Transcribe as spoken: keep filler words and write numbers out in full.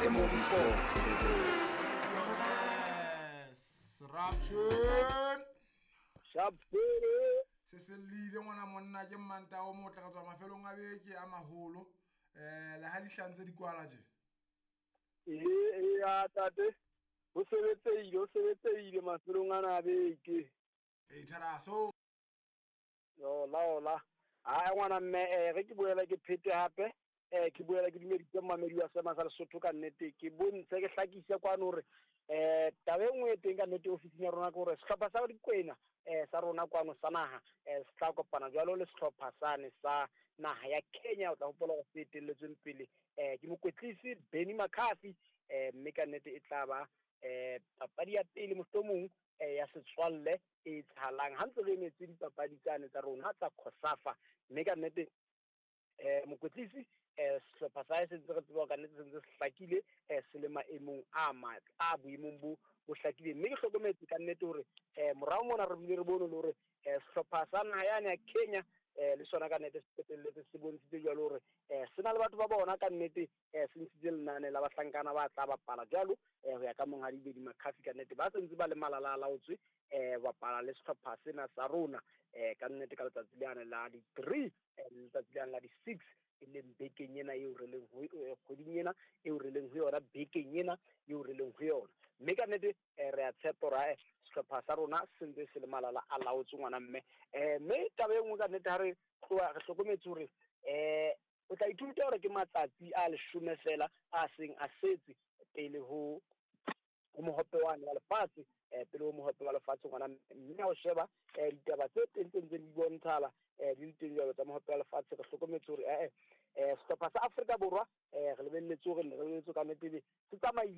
The Mobi Sports. Yes, Raption. Sharp. Se se lile ngwana monna ke mmanta o motle ka tswa mafelong a beke a maholo eh le ha dihlantse di kwala je. Ee ya tate ho sebetseile ho sebetseile mafelong ana a beke. E tharaso. Yo la ola. Ha ngwana mme eh re ke boela ke phete hape eh ke boela ke dumeditse mmamedi wa sema sa Lesotho ka nnete ke bontshe ke hlakise kwano hore eh taba e nngwe e teng ka nnete ofising ya rona ke hore sehlopha sa Dikwena eh sa rona kwano sa naha eh se tla kopana jwalo le sehlopha sane sa naha ya Kenya. O tla hopola hore se etelletsweng pele eh ke mokwetlisi Benny McCarthy eh mme ka nnete e tla ba eh papadi ya pele mohlomong eh ya setswalle e etsahalang ha ntse re emetse dipapadi tsane tsa rona tsa COSAFA. Mme ka nnete eh mokwetlisi eh sehlopha sa hae se ntse re tseba ka nnete se ntse se hlakile eh se le maemong a matle a boemong bo bo hlakileng. Mme ke hlokometse ka nnete hore eh morao mona re bile re bone le hore eh sehlopha sa naha yane ya Kenya eh le sona ka nnete se qetelletse se bontshitse jwalo hore eh se na le batho ba bona ka nnete eh se ntshitse lenane la bahlankana ba tla bapala jwalo eh ho ya ka monghadi Benny McCarthy ka nnete ba se ntse ba le malala a laotswe eh bapala le sehlopha sena sa rona eh ka nnete ka letsatsi lane la di three eh letsatsi lane la di six e leng bekeng ena eo re leng ho kgweding ena eo re leng ho yona bekeng ena eo re leng ho yona. Mme ka nnete re a tshepa hore sehlopha sa rona se ntse se le malala a laotswe ngwana mme eh mme taba e nngwe ka nnete ha re tloha re hlokometse hore eh o tla ithuta hore ke matsatsi a leshome fela a seng a setse pele ho ho mohope wane wa lefatshe eh pele ho mohope wa lefatshe ngwana mme ha o sheba eh ditaba tse teng tse ntseng di bontshala eh di le teng jwalo tsa mohope wa lefatshe re hlokometse hore eh eh sehlopha sa Afrika Borwa eh re lebelletse hore re lebelletse ka nnete se tsamaile.